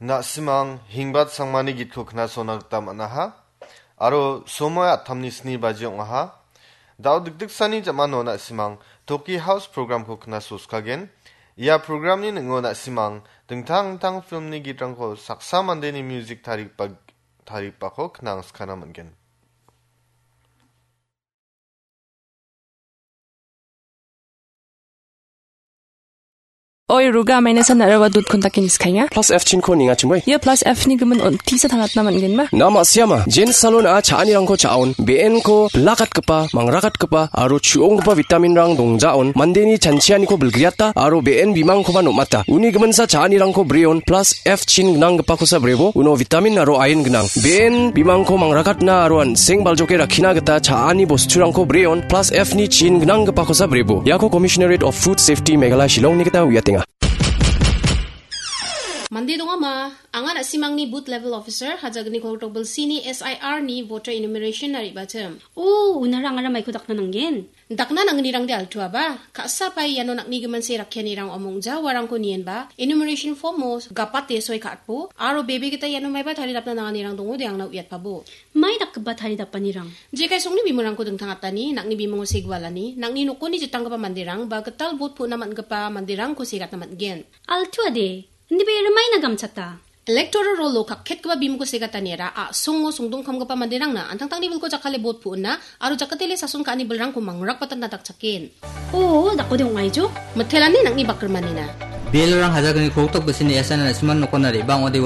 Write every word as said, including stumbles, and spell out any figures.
Na·simang Hingbat Sangmani gitko knasona gita man·aha. Aro somoi attamni sni baji ong·aha. Da·o dikdiksani jamano na·simang Toki House programko knasoskagen. Ia programni ning·o na·simang dingtang dingtang filmni gitrangko saksa mandeni music tarigipa-, tarigipako knangskana man·gen. Oi, Ruga, maina san narawa dut kontakin iskainga. Plus F chinko ninga chimoi. Ia plus F ni gimin on tisa tangatna man·genba? Nama siama, Jen Salon a cha·anirangko cha·on, B N ko bilakatgipa, mangrakatgipa, aro chu·onggipa vitaminrang dongjaon, mandeni chanchianiko bilgriata, aro B N bimangkoba nom·ata. Uni giminsa cha·anirangko breon, plus F chin gnanggipakosa brebo, uno vitamin aro iron gnang. B N bimangko mangrakatna aro an·seng baljoke rakkina gita cha·ani bosturangko breon, plus F ni chin gnanggipakosa brebo. Iako Commissionerate of Food Safety Meghalaya Shillongni gita uiatenga. Mande dongama, anga na·simangni booth level officer, hajagni koltok bilsini S I R ni voter enumeration na re·bachim. O, unara angara maiko dakna nanggen. Dakna nangnirangde altuaba, ka·sa pai iano nakni giminse rakkianirang omongja uarangko nienba, enumeration form-o gapate soi ka·atbo, aro bebe gita iano maiba taridapna nanganirang dongode angna uiatpabo. Mai dakgipa taridapanirang? Jekai songni bimungko dingtangatani, nakni bimungo segualani, nakni nokoni jitanggipa manderang, ba gital bot pu·na man·gipa manderangko segatna man·gen. Altuade, indibe rimaina gamchata. Electoral roll-o kakketgipa bimungko segataniara a·songo songdongkamgipa manderangna antangtangni bilko jakkale bot pu·na aro jakatele sason ka·ani bilrangko mangrakbatatna dakchaken. O, dakode ong·aijo? Mitelani nakni bakrimanina. Belorang hajagni koltok bisini S I R na·siman nokona re·bang ode